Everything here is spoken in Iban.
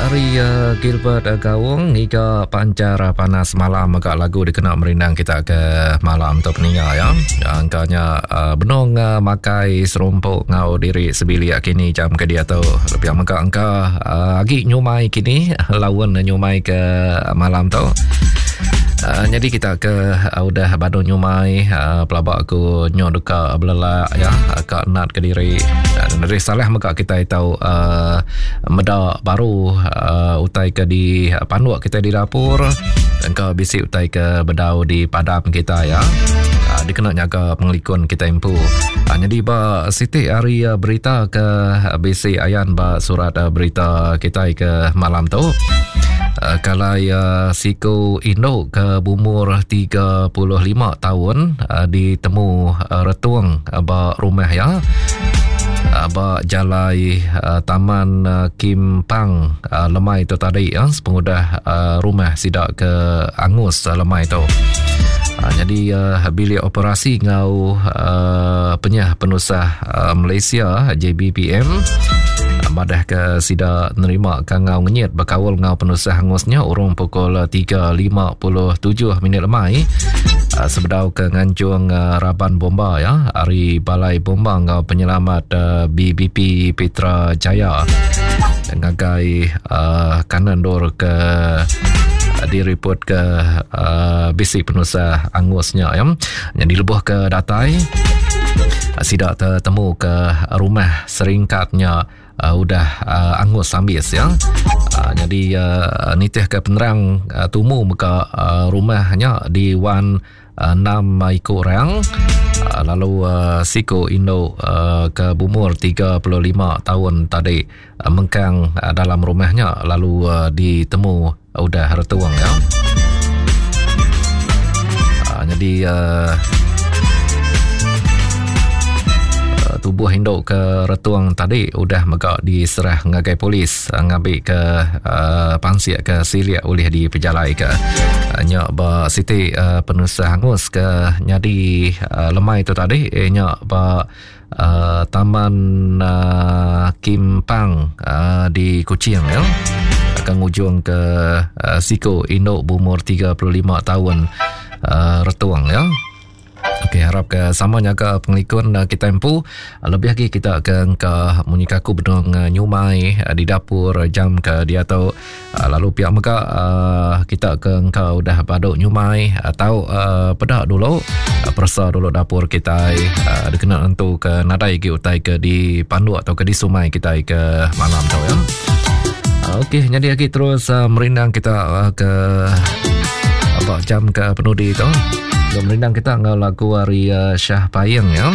Ari uh, Gilbert uh, Gaung ngiga pancar uh, panas malam agak lagu dikena merindang kita ke malam tu peninga ya. Angkanya uh, benung uh, makai serumpuk ngau diri sebilik kini jam ke dia tu. Lebih mega angka uh, agi nyumai kini laun nyumai ke malam tu. Uh, jadi kita ke uh, udah badu nyumai uh, pelaba aku nyo deka belelak ya ka nat ke diri. Uh, dari salah mega kita tahu uh, meda baru uh, utai ke di panduk kita di dapur engka bisi utai ke bedau di padam kita ya uh, dikena nyaga pengelikun kita empu uh, jadi ba siti hari uh, berita ke bisi ayan ba surat uh, berita kita ke malam tu uh, kalau uh, siku induk ke bumur 35 tahun uh, ditemu uh, retung uh, ba rumah ya ba jalai uh, Taman uh, Kim Pang uh, lemai tu tadi ya sepengudah uh, rumah sida ke angus uh, lemai tu. Uh, jadi uh, bilik operasi ngau uh, penyah penusah uh, Malaysia JBPM madah ke sida nerima kangau ngenyit bekaul ngau penusah angusnya urung pukul 3.57 minit lemai uh, sebedau ke nganjung uh, raban bomba ya ari Balai Bomba ngau Penyelamat uh, BBP Petra Jaya ngagai uh, kanan dor ke direport ke uh, bisi penusah angusnya ya. Jadi lebuh ke datai sida tetemu ke rumah seringkatnya uh, udah uh, angus ambis ya. Uh, jadi uh, nitih ke penerang uh, tumu meka uh, rumahnya di wan uh, 6 iku orang uh, lalu uh, siku indu uh, ke bumur 35 tahun tadi uh, mengkang uh, dalam rumahnya lalu uh, ditemu udah retung ya. Uh, jadi uh, tubuh induk ke retung tadi udah mega diserah ngagai polis uh, ngambil ke uh, pansik ke silik oleh dipejalai ke uh, nya ba siti uh, penusah angus ke nyadi uh, lemai tu tadi eh, nya ba uh, Taman uh, Kim Pang uh, di Kuching ya. Akan ngujung ke uh, siku induk berumur 35 tahun uh, retung ya. Okey, harap ke sama nyaga pengelikun uh, kita empu. Lebih lagi kita ke engka munyi kaku benung uh, nyumai uh, di dapur jam ke dia tu. Ah, lalu pihak mega uh, kita ke engkau udah baduk nyumai atau uh, peda dulu uh, peresa dulu dapur kita uh, dikena nentu ke nadai gi utai ke di panduk atau ke di sumai kita ke malam tu ya. Okey, jadi lagi terus uh, merindang kita uh, ke apa jam ke penudi tu. Merindang kita ngau lagu hari uh, Syah Payeng ya.